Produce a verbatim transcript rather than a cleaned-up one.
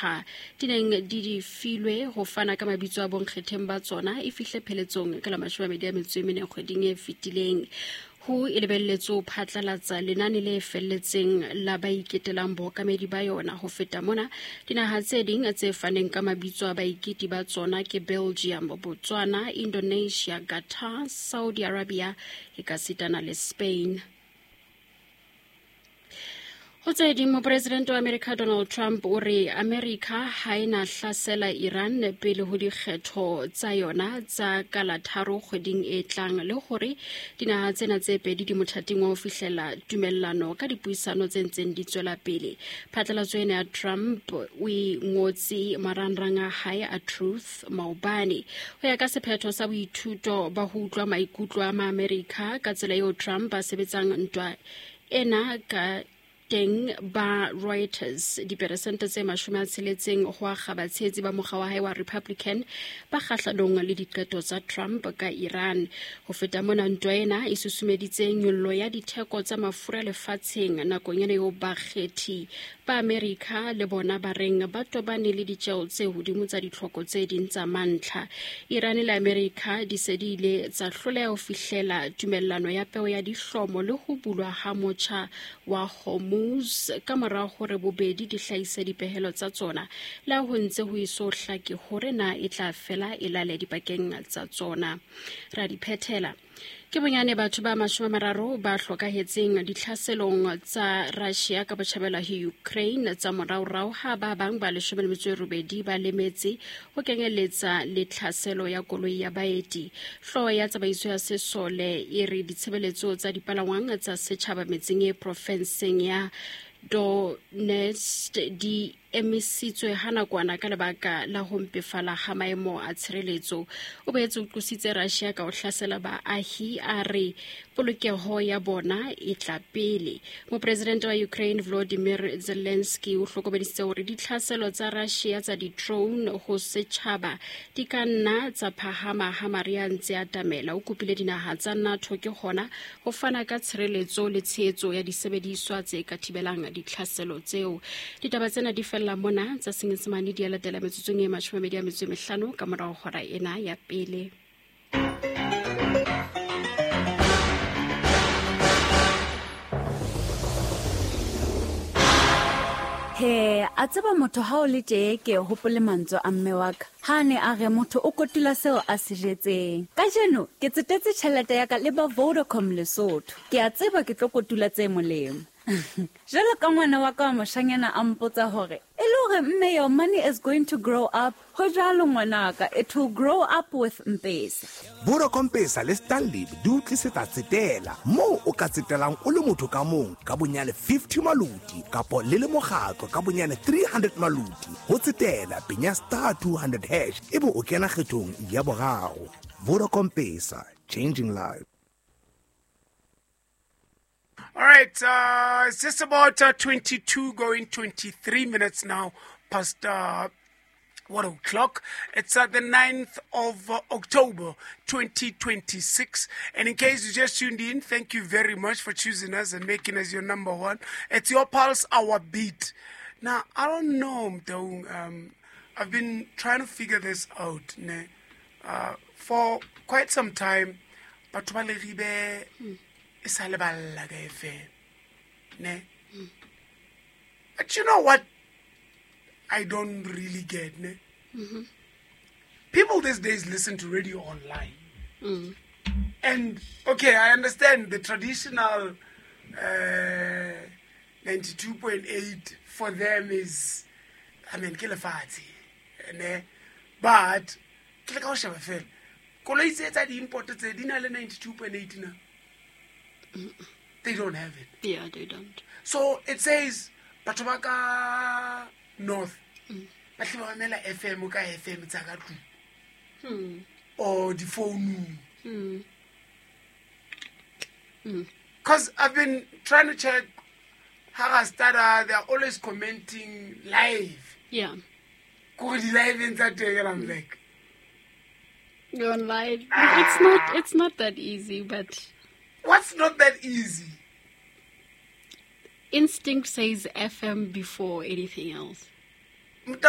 dinaha di neng di di filwe ho fana ka mabitso a bonkgetheng ba tsona e fihle pheletsong ka la mashome a mabedi a metso e mene kgweding e fetileng. Ho e lebelletswe ho phatlalatsa lenane le felletseng la ba iketelang bookamedi ba yona. Ho feta mona, dinaha tse ding tse faneng ka mabitso a baiketi ba tsona ke Belgium, Botswana, Indonesia, Qatar, Saudi Arabia ekasitana le Spain. Ho tse ding, mopresidente wa America Donald Trump o re America ha e na hlasela Iran pele ho dikgetho tsa yona tsa ka la tharo kgweding e tlang, le hore dinaha tsena tse pedi di mothating wa ho fihlela tumellano ka dipuisano tse ntseng di tswela pele. Phatlalatso ena ya Trump o e ngotse marangrang a hae a Truth maobane. Ho ya ka sephetho sa boithuto ba ho utlwa maikutlo a Maamerika ka tsela eo Trump a sebetsang ntwa ena ka teng ba Reuters, diperesente tse mashome a tsheletseng ho akga batshehetsi ba mokga wa hae wa Republican ba kgahlanong le diqeto tsa Trump ka Iran. Ho feta mona, ntwa ena e susumeditse nyollo ya ditheko tsa mafura lefatsheng nakong ena eo bakgethi ba Amerika le bona ba reng ba tobane le ditjeo tse hodimo tsa ditlhoko tse ding tsa mantlha. Iran le Amerika di se di ile tsa hloleha ho fihlela tumellano ya peo ya dihlomo le ho bulwa ha motjha wa Hormuz ka mora hore bobedi di hlahise dipehelo tsa tsona, le ha ho ntse ho eso hlake hore na e tla fela e lale dipakeng tsa tsona. Ra di phethela. Ke bonyane batho ba mashome a mararo ba hlokahetseng ditlhaselong tsa Russia ka botjhabela ho Ukraine tsa moraorao, ha ba bang ba leshome le metso e robedi ba lemetse, ho kenyeletsa le tlhaselo ya koloi ya baeti. Hlooho ya tsamaiso ya sesole e re ditshebeletso tsa dipalangwang tsa setjhaba metseng e profenseng ya Donetsk di emisitswe ha nakwana ka lebaka la ho mpefala ha maemo a tshireletso. O boetse o qositse Russia ka ho hlasela baahi, a re polokeho ya bona e tla pele. Mopresidente wa Ukraine Volodymyr Zelensky o hlokomedisitse hore ditlhaselo tsa Russia tsa di-drone ho setjhaba di ka nna tsa phahama ha mariha a ntse a atamela. O kopile dinaha tsa NATO ke hona ho fana ka tshireletso le tshehetso ya disebediswa tse ka thibelang ditlhaselo tseo. Ditaba tsena di fella mona tsa Senyesemane di a latela metsotsong e mashome a mabedi a metso e mehlano ka morao hora ena ya pele. He, a tseba motho ha o le tee ke hopole mantswe a mme wa ka. Ha ne a re motho o kotula seo a se jetseng. Kajeno ke tsetetse tjhelete ya ka le ba Vodacom Lesotho. Ke a tseba ke tlo kotula tse molemo. Jwalo ka ngwana wa ka wa moshanyana a mpotsa hore e le hore mme your money is going to grow up. Ho jwalo ngwanaka, it will grow up with M-Pesa. Vodacom Pesa le Stanley di o tlisetsa tsetela moo o ka tsetelang o le motho ka mong ka bonyane fifty maluti kapo le le mokgatlo ka bonyane three hundred maluti. Ho tsetela penya star two hundred hash ebe o kena kgethong ya boraro. Vodacom Pesa, changing lives. All right, uh, it's just about uh, twenty-two going twenty-three minutes now past uh, one o'clock. It's uh, the ninth of uh, October, twenty twenty-six. And in case you just tuned in, thank you very much for choosing us and making us your number one. It's your pulse, our beat. Now, I don't know, though, um, I've been trying to figure this out, ne? Uh, for quite some time. But mm. Ne? But you know what I don't really get, ne? Mm-hmm. People these days listen to radio online. Mm. And, okay, I understand the traditional uh, ninety-two point eight for them is, I mean, ke lefatshe, ne? But, ke le ka ho sheba fela, koloi tse tsa di-import tse di na le ninety-two point eight na. They don't have it. Yeah, they don't. So it says, batho ba ka north, ba tle ba mamela F M ka F M tsa ka tlung. Hmm. Or the phone. Hmm. Because I've been trying to check Harastada, they're always commenting live. Yeah. Live in that day, and I'm like, you're on live. Ah. It's not it's not that easy, but what's not that easy? Instinct says F M before anything else.